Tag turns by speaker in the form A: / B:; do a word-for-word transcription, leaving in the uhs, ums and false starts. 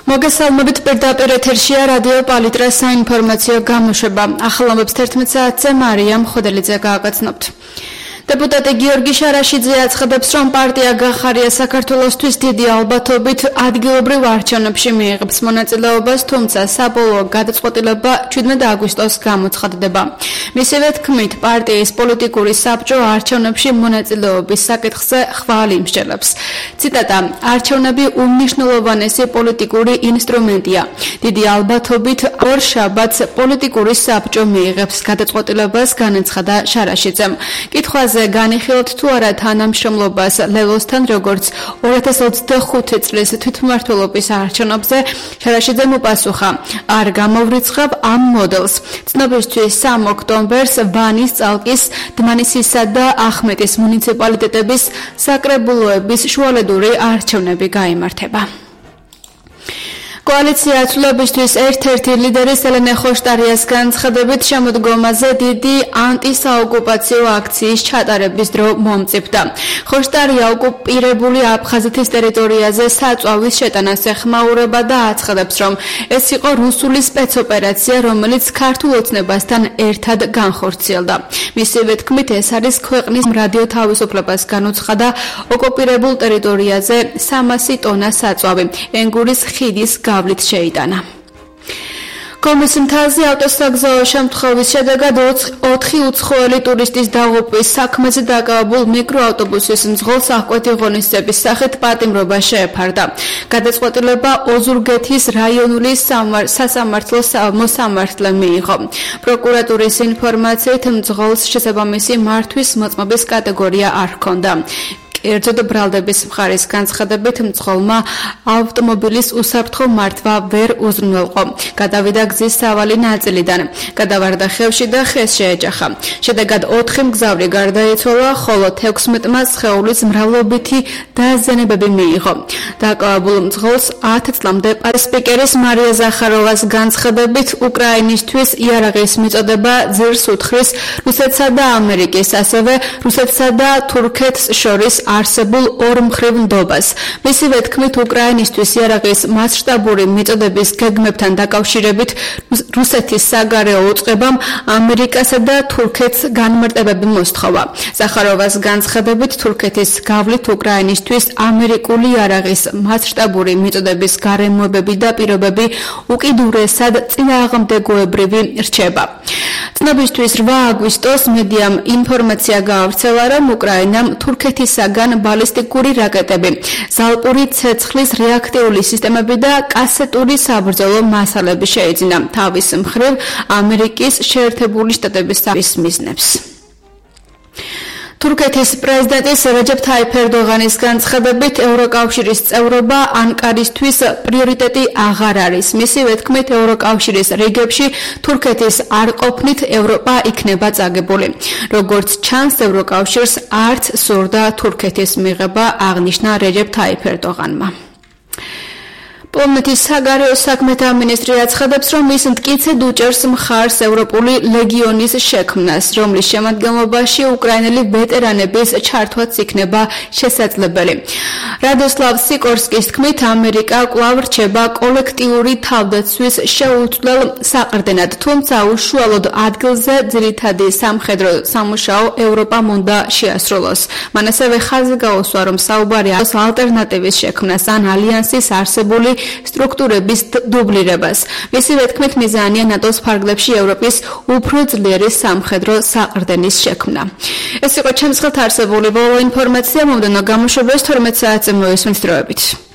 A: მოგესალმებით პირდაპირ ეთერშია რადიო პალიტრას საინფორმაციო გამოშვება. ახალ ამბებს თერთმეტ საათზე მარიამ ხოდელიძე გააგრძნობთ. Deputati Georgi Sharashidze aცხადებს, რომ პარტია გახარია საქართველოსთვის დიდი ალბათობით ადგილობრივ არჩევნებში მიიღებს მონაწილეობას, თუმცა საბოლოო გადაწყვეტილება ჩვიდმეტ აგვისტოს გამოცხადდება. მისივე თქმით, პარტიის პოლიტიკური საბჭო არჩევნებში მონაწილეობის საკითხზე ხვალ იმსჯელებს. ციტატა: არჩევნები უმნიშვნელოვანესი პოლიტიკური ინსტრუმენტია. დიდი ალბათობით ორ შაბათს პოლიტიკური საბჭო მიიღებს გადაწყვეტილებას, განაცხადა Sharashidzem. კითხვაზე განიხილოთ თუ არა თანამშრომლობას ლელოსთან, როგორც ორი ათას ოცდახუთი წლის თვითმმართველობის არჩევნებზე, Sharashidzem უპასუხა: არ გამოვრიცხავ ამ მოდელს. ცნობისთვის სამ ოქტომბერს ვანის, წალკის, დმანისისა და ახმეტის მუნიციპალიტეტების საკრებულოების შუალედური არჩევნები გაიმართება. Koalitsiya აცვლებისთვის ერთ-ერთი ლიდერის ელენე ხოშტარიას განცხადებით შემოდგომაზე დიდი ანტისაოკუპაციო აქციის ჩატარების დრო მომწიფდა. ხოშტარია ოკუპირებული აფხაზეთის ტერიტორიაზე საწვავის შეტანას ეხმაურება და აცხადებს, რომ ეს იყო რუსული სპეცოპერაცია, რომელიც ქართულ ოცნებასთან ერთად განხორციელდა. მისივე თქმით, ეს არის ქვეყნის რადიო თავისუფლებას განუცხადა ოკუპირებულ ტერიტორიაზე სამასი ტონა საწვავი ენგურის ხიდის გავლით შეიტანა. კომის მთაზე ავტოსაგზაო შემთხვევის შედეგად ოთხი უცხოელი ტურისტის დაღუპვის საქმეზე დაკავებულ მიკროავტობუსის მძღოლს აღკვეთი ღონისძიების სახით პატიმრობა შეეფარდა. გადაწყვეტილება ოზურგეთის რაიონული სასამართლოს მოსამართლემ მიიღო. პროკურატურის ინფორმაციით მძღოლს შესაბამისი მართვის მოწმობის კატეგორია არ ჰქონდა. კერძოდ ბრალდების მხარის განცხადებით მძღოლმა ავტომობილის უსაფრთხო მართვა ვერ უზრუნველყო. გადავიდა გზის სავალი ნაწილიდან, გადავარდა ხევში და ხეს შეეჯახა. შედეგად ოთხი მგზავრი გარდაიცვალა, ხოლო თექვსმეტმა სხეულის მრავლობითი დაზიანებები მიიღო. დაკავებულ მძღოლს ათ წლამდე სპიკერის მარია ზახაროვას განცხადებით უკრაინისთვის იარაღის მიწოდება ძირს უთხრის რუსეთსა და ამერიკის, ასევე რუსეთსა და თურქეთს შორის არსებულ ორმხრივ ნდობას. მისივე თქმით, უკრაინისთვის იარაღის მასშტაბური მიწოდების გეგმებთან დაკავშირებით რუსეთის საგარეო უწყებამ ამერიკასა და თურქეთს განმარტებები მოსთხოვა. ზახაროვას განცხადებით, თურქეთის გავლით უკრაინისთვის ამერიკული იარაღის მასშტაბური მიწოდების გარემოებები და პირობები უკიდურესად წინააღმდეგოებრივი რჩება. ცნობისთვის რვა აგვისტოს მედიამ ინფორმაცია გაავრცელა, რომ უკრაინამ თურქეთისაგან ბალისტიკური რაკეტები, ზალპური ცეცხლის რეაქტიული სისტემები და კასეტური საბრძოლო მასალები შეიძინა თავის მხრივ ამერიკის შეერთებული შტატების მიზნებს. თურქეთის პრეზიდენტის რეჯეფ თაიფ ერდოღანის განცხადებით, ევროკავშირის წევრობა ანკარისთვის პრიორიტეტი აღარ არის. მისივე თქმით, ევროკავშირის რიგებში თურქეთის არ ყოფნით ევროპა იქნება წაგებული. როგორც ჩანს, ევროკავშირს არც სურდა თურქეთის მიღება, აღნიშნა რეჯეფ თაიფ ერდოღანმა. პოლონეთის საგარეო საქმეთა მინისტრი აცხადებს, რომ ის მტკიცედ უჭერს მხარს ევროპული ლეგიონის შექმნას, რომლის შემადგენლობაში უკრაინელი ვეტერანების ჩართვაც იქნება შესაძლებელი. რადოსლავ სიკორსკის თქმით, ამერიკა კვლავ რჩება კოლექტიური თავდაცვის შეუცვლელ საყრდენად, თუმცა უშუალოდ ადგილზე ძირითადი სამხედრო სამუშაო ევროპამ უნდა შეასრულოს. მან ასევე ხაზი გაუსვა, რომ საუბარი არის ალტერნატივის შექმნას ან ალიანსის არსებული სტრუქტურების დუბლირებას. მისივე თქმით, მიზანია ნატოს ფარგლებში ევროპის უფრო ძლიერი სამხედრო საყრდენის შექმნა. ეს იყო ჩემს ხელთ არსებული ბოლო ინფორმაცია, მომდევნო გამოშვებას თორმეტ საათზე მოვისმენთ დროებით.